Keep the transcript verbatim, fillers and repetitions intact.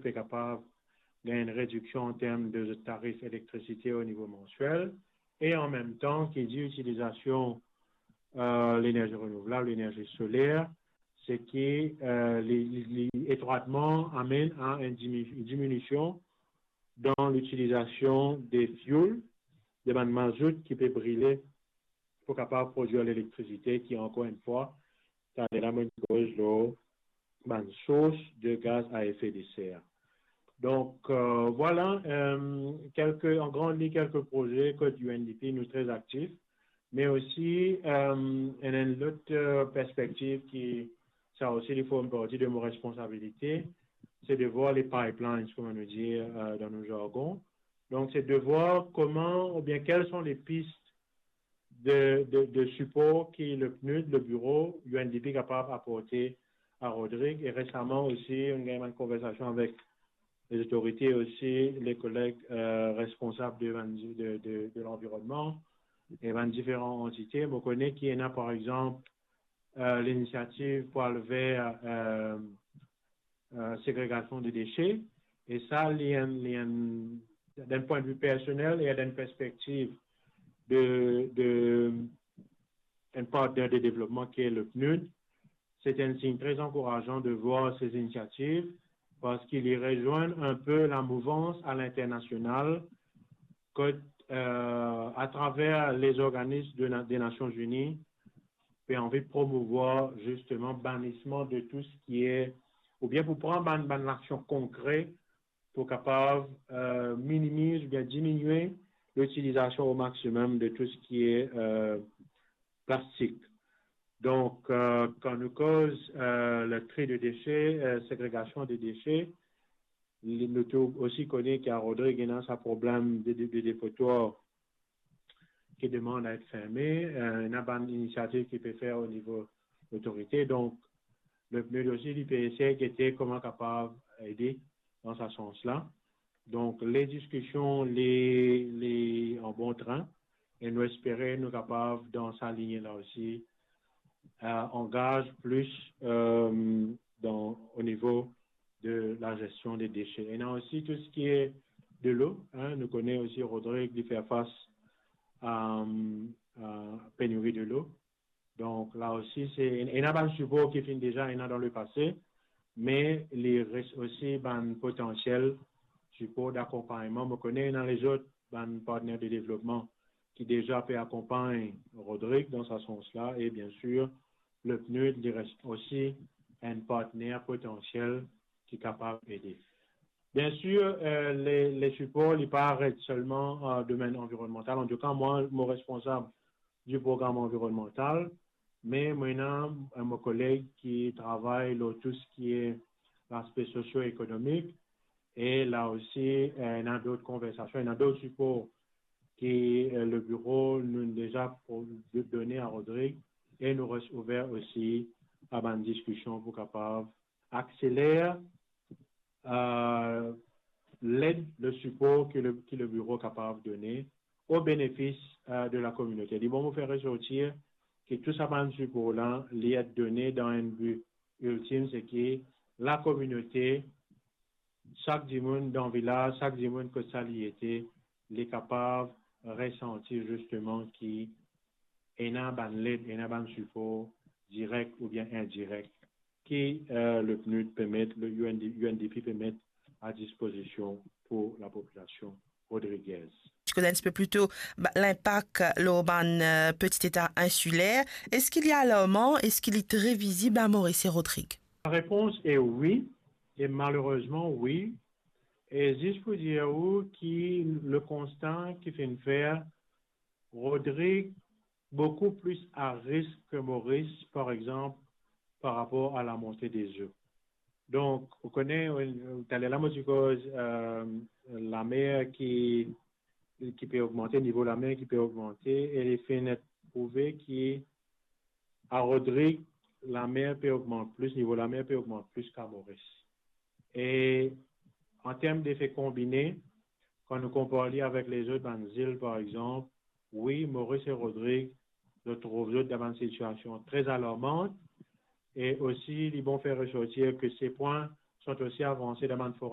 pe kapav gagn enn rediksion an term de zot tarif elektrisite o nivo mansiel, e an mem tan ki dir itilizasion, eh, lenerzi renouvlab, lenerzi soler, se ki, eh, li, li, li etrwatman amenn a enn dimi-, diminision dan litilizasion de fioul, de bann mazout ki pe brile pou kapav prodwir lelektrisite ki, ankor enn fwa, taler la mo koz lor bann sours de gaz a efe de ser. Donk, eh, vwala, eh, kelke, an gran liny, kelke proze kot U N D P nou tre aktif, me osi, eh, enn, enn lot, eh, perspektiv ki, sa osi, li form parti de mo responsabilite, se de vwar les pipelines, kouma nou dir, eh, dan nou zargon. Donk, se de vwar kouma, oubien quelles sont les pistes de, de, de sipor ki le PNUD, le biro, U N D P kapav aporte a Rodrig. E resaman osi, nou gagn enn konversasion avek lezotorite osi, le koleg, eh, responsab de, de, de, de lanvironnman e bann diferan antite. Mo kone ki ena, par exanp, eh, linisiativ pou al ver, eh, eh, segregasion de dese. E sa, li enn, li enn, dan pwin de vi personel e dan perspektiv de, de enn partner de devlopman ki le PNUD, se enn sign tre ankourazan de vwar se inisiativ, parski li rezwenn enn pe lamouvans a linternasional, kot, eh, atraver lezorganism de na-, de Nasion Ini, pe anvi promouvwar zisteman banisman de tou seki e, oubien pou pran bann, bann aksion konkre pou kapav, eh, minimiz oubien diminie litilizasion o maximum de tou seki e, eh, plastik. Donk, eh, kan nou koz, eh, le tri de dese, eh, segregasion de dese, li, nou tou osi kone ki a Rodrig ena sa problem de, de, de depotwar ki demann a et ferme, eh, ena bann inisiativ ki pe fer o nivo lotorite. Donk, le PNUD osi, li pe esey gete kouma kapav ede dan sa sans la. Donk, le diskision, li, li an bon trin, e nou espere nou kapav, dan sa linie la osi, eh, angaz plis, eh, dan, o nivo de la gestion des déchets. Ena osi tou seki e delo, hein, nou kone osi Rodrig, li fer fas a, a peniri delo. Donk, la osi, se, ena bann sipor ki finn deza ena dan lepase, me li res osi bann potansiel sipor dakonpagnman. Mo kone ena lezot bann partner de devlopman ki deza pe akonpagn Rodrig dan sa sans la, e biensir, le PNUD, li res osi enn partner potansiel ki kapav ede. Biensir, eh, le, le sipor, li pa aret selman, eh, domenn anvironnmantal. Antouka, mwa, mo responsab di program anvironnmantal, me mo ena, eh, mo koleg ki travay lor tou seki e laspe sosio-ekonomik, e la osi, eh, ena dot konversasion, ena dot sipor ki, eh, le biro nou deza pou do-, done a Rodrig, e nou res ouver osi a bann diskision pou kapav akseler, eh, led, le sipor ki le, ki le biro kapav done o benefis, eh, de la kominote. Li bon mo fer resortir ki tou sa bann sipor la, li et done dan enn bi iltim, se ki la kominote, sak dimoun dan vilaz, sak dimoun kot sa li ete, li kapav resanti zisteman ki ena bann led, ena bann sipor direk oubien indirek ki, eh, le PNUD pe met, le U N D, U N D P pe met a dispozision pou lapopilasion rodrigez. Ti koz enn tipe plito, ba, linpak lor bann, eh, peti eta insiler. Eski li alarman? Eski li tre vizib a Moris e Rodrig? Larepons e wi, e malerezman wi. E zis pou dir ou ki le konsta ki finn fer, Rodrig boukou plis a risk ki Moris, par exanp, par rapor a lamonte dezo. Donk, ou kone, eh, taler la mo ti koz, eh, lamer ki, ki pe ogmante, nivo lamer ki pe ogmante, e li finn prouve ki a Rodrig, lamer pe ogmant plis, nivo lamer pe ogmant plis ki a Moris. E an term defe konbine, kan nou konpar li avek lezot bann zil, par exanp, wi, Moris e Rodrig, zot trouv zot dan bann sitiasion tre alarmant, e osi, li bon fer resortir ki se pwin sont osi avanse dan bann forum